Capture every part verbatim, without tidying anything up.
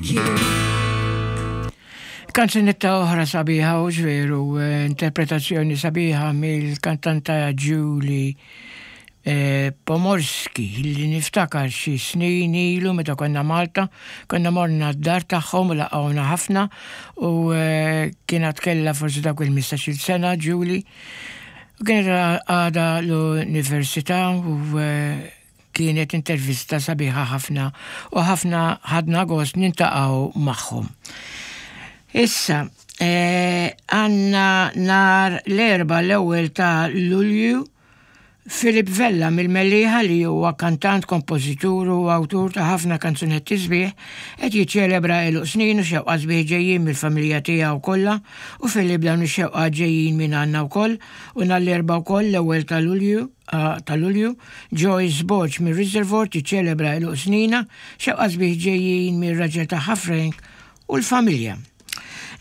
Thank you. Kanzunetta oħra sabiħa u veru, eh, interpretazzjoni sabiħa mill-kantanta Julie eh, Pomorski, li niftakar xi snin ilu meta konna Malta, konna morna d-dar tagħhom u laqgħuna ħafna u eh, kienet kella forsi dak il-ħmistax-il sena Julie. U kienet għada l-università u eh, kienet intervista sabiħa ħafna u ħafna ħadna gost niltaqgħu magħhom. Issa, eh, għandna nhar l-Erbgħa, l-ewwel ta' Lulju, Filip Vella mill-Mellieħa, li huwa kantant, kompożitur u awtur ta' ħafna kanzunetti sbieħ, qed jiċċelebra għeluq snin u xewqat sbieħ ġejjin mill-familja tiegħu kollha. U Filip, dawn ix-xewqat ġejjin minn għandna wkoll. U nhar l-Erbgħa wkoll, l-ewwel ta' Lulju ta' Lulju, Joyce Borg mir-Reservoir tiċċelebra għeluq sninha, xewqat sbieħ ġejjin mir-raġel tagħha Frank u l-familja.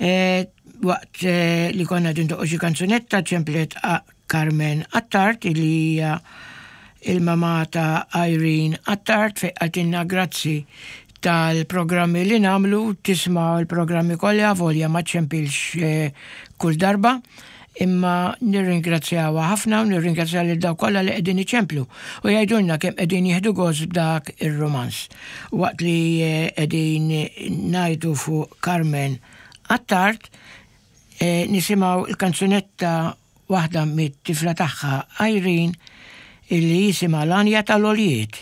E, waqt e, li konna indoqqu xi kanzunetta ċemplet Carmen Attard, li hija il-mama ta' Irene Attard, fejn qaltilna grazzi tal-programmi li nagħmlu, tisma' l-programmi kollha volja ma ċempilx e, kull darba, imma nirringrazzjawha ħafna u nirringrazzjaw lil dawk kollha li qegħdin iċemplu u jgħidulna kemm qegħdin jieħdu gost b'dak ir-rumanz. Waqt li qegħdin ngħidu fuq Carmen Attard, e, nisimgħu il-kanzunetta waħda mit-tifla tagħha Irene, illi jisimha L-Għanja tal-Għoljiet.